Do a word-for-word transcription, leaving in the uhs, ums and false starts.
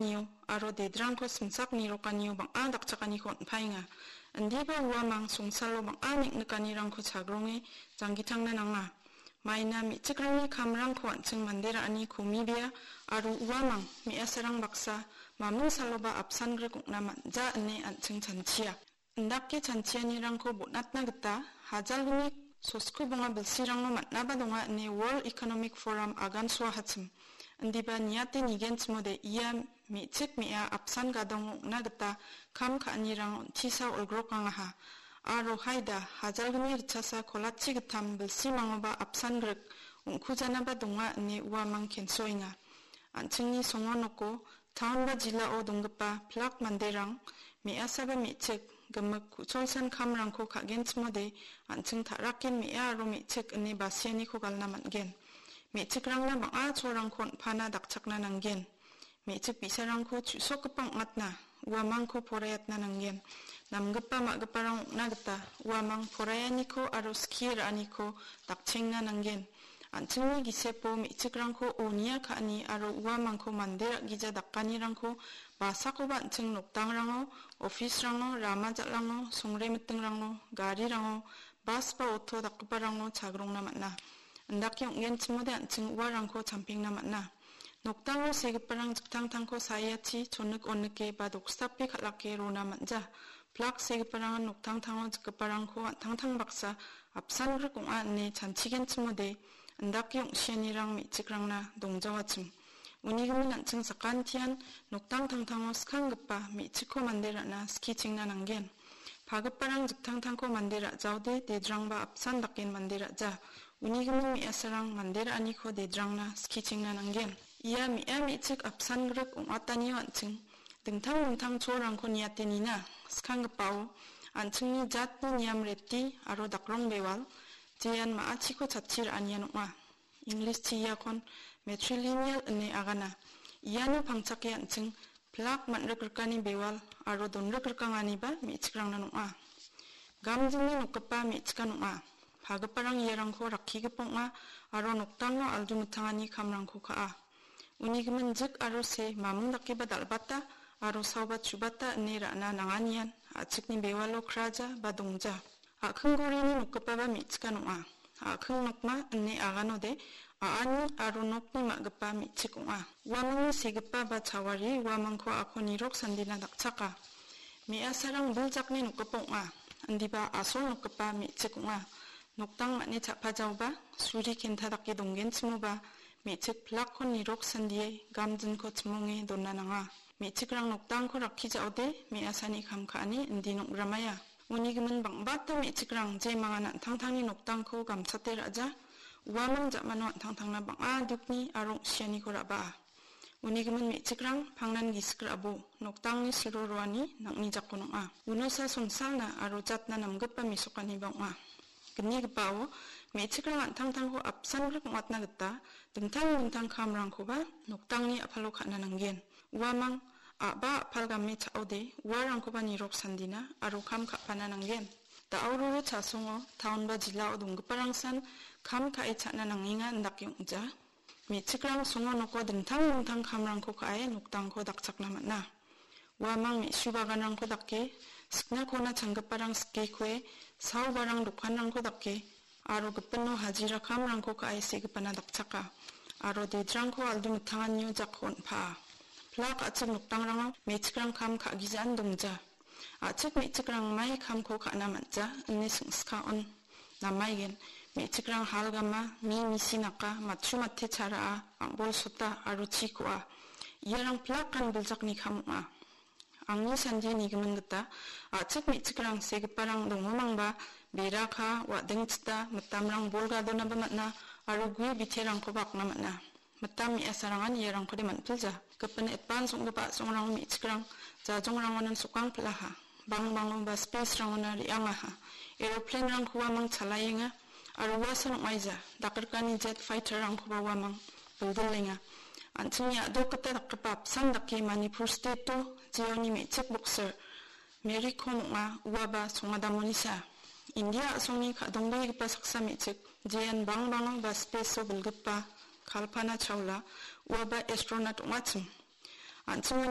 nio aro dedrangko simsak nirokanio bang·a dakchakaniko on·paenga. Indiba uamang songsalo bang·a neng·nikanirangko chagronge janggitangna nanga. Maina me·chikrangni kamrangko an·ching mande ra·ani komibea aro uamang me·asarang baksa maming saloba apsan grik ong·na man·ja ine an·ching chanchia. Indake chanchianirangko bon·atna gita hajalgni sosko bonga bilsirangno man·aba donga ine World Economic Forum agansoahachim. Indiba niate nigenchimode ia me·chik me·a apsan gadongo ong·na gita kam ka·anirang on·tisa olgrokangaha. Aro haida hajalgni ritchasa kolachi gittam bilsimangoba apsan grik ong·kujanaba donga ine uamang kensoenga. An·chingni songo noko taon ba jilao donggipa pilak manderang me·asaba me·chik gimik ku·cholsan kamrangko ka·genchimode an·ching ta·raken me·a aro me·chik ine basianiko galna man·gen. Me·chikrangna bang·a cholrangko on·pana dakchakna nanggen. Me·chik bi·sarangko chu·sokgipa ong·atna, uamangko poraiatna nanggen. Namgipa ma·giparang ong·na gita uamang poraianiko aro skie ra·aniko dakchengna nanggen. An·chingni gisepo me·chikrangko onia ka·ani aro uamangko mande ra·gija dakanirangko basakoba an·ching noktangrango, office-rango, rama jal·rango, songre mitingrango, garirango, bas ba oto dakgiparango chagrongna man·a. Indake ong·genchimode an·ching uarangko champengna man·a. Nokdango segiparang jiktangtangko saiachi chonik onike ba doksdape kal·ake rona man·ja. Plak segiparangan noktangtango jikgiparangko an·tangtang baksa apsan grik ong·a ine chanchigenchimode indake ong·sianirang me·chikrangna dongjawachim. Unigimin an·ching sakantian noktang tangtango skanggipa me·chikko mande ra·na skichingna nanggen. Pagiparang jiktangtangko mande ra·jaode dedrangba apsan daken mande ra·ja. Unigimin me·asarang mande ra·aniko dedrangna skichingna nanggen. Ia me·a me·chik apsan grik ong·atanio an·ching dingtang dingtang cholrangko niate nina. Skanggipao an·chingni jatni niam reti aro dakrong bewal, jean ma·achiko chatchi ra·anian ong·a. English-chi iakon matrilineal ine agana. Iano pangchake an·ching plak man·rikrikani bewal aro donrikrikanganiba me·chikrangna ong·a. Gamjingni nokgipa me·chikan ong·a. Pagiparang iarangko rakkigipa ong·a aro nokdango aldu mitangani kamrangko ka·a. Uni gimin jik aro se mamung dakeba dal·bata aro saoba chubata ine ra·na nanganian a·chikni bewalo kraja ba dongja. A·kinggorini nokgipaba me·chikan ong·a. A·king nokma ine aganode a·ani aro nokni ma·gipa me·chik ong·a. Uamangni segipa ba chawari uamangko a·ko nirok sandina dakchaka. Me·asarang biljakni nokgipa ong·a. Indiba asol nokgipa me·chik ong·a. Nokdang man·e cha·pajaoba suri kenta dake donggenchimoba me·chik pilakko nirok sandie gamjinko chimonge dona nanga. Me·chikrang nokdangko rakkijaode me·asani kam ka·ani indi nong·gramaia. Uni gimin bang·bata me·chikrang jemangan an·tangtangni nokdangko gamchate ra·ja, uamang ja·mano an·tangtangna bang·a dukni aro ong·sianiko ra·baa. Uni gimin me·chikrang pangnan gisik ra·bo, nokdangni siro roani nang·ni jakon ong·a. Unosa songsalna aro jatna namgipa mesokaniba ong·a. Gnigipao me·chikrang an·tangtangko apsan grik ong·atna gita dingtang dingtang kamrangkoba nokdangni a·palo ka·na nanggen. Uamang a·ba a·pal game cha·ode uarangkoba nirok sandina aro kam ka·pana nanggen. Da·auroro chasongo taon ba jilao donggiparangsan kam ka·e cha·na nangenga indake ong·ja. Me·chikrang songo noko dingtang dingtang kamrangko ka·e nokdangko dakchakna man·a. Uamang me·su baganrangko dake, sikna kona changgiparang sikekoe, saobarang dokanrangko dake, aro gipino hajira kamrangko ka·e segipana dakchaka, aro dedrangko aldu mitanganio jako on·paa. Pilak a·chik nokdangrango me·chikrang kam ka·gijaan dongja. A·chik me·chikrang mai kamko ka·na man·ja ine singska on. Namaigen, me·chikrang hal gama, mi misi naka, matchu mate charaa, am·bol sota aro chi ko·a. Iarang pilak kan biljakni kam ong·a. Angni sandie nigimin gita, a·chik me·chikrang segiparang dongomangba, beraka, wa·dengchita, mitamrang bol gadonaba man·a, aro gue biterangkoba akna man·a. Mitam me·asarangan iarangkode man·pilja. Gipin etpan song·gipa a·songrango me·chikrang jajongrangonan sokang pil·aha. Bangbango ba space-rangona re·angaha. Aeroplane-rangkoba mangchalaenga. Aro uasan ong·aija. Dakgrikani jet fighter-rangkoba uamang bildilenga. An·chingni a·dok gita dakgipa apsan dake Manipur state-o jeoni me·chik boxer Mary Kom ong·a, uaba songadamonisa. India a·songni ka·dongbegipa saksa me·chik, jean bangbango ba space-o bilgipa Kalpana Chawla, uaba astronaut ong·achim. An·chingani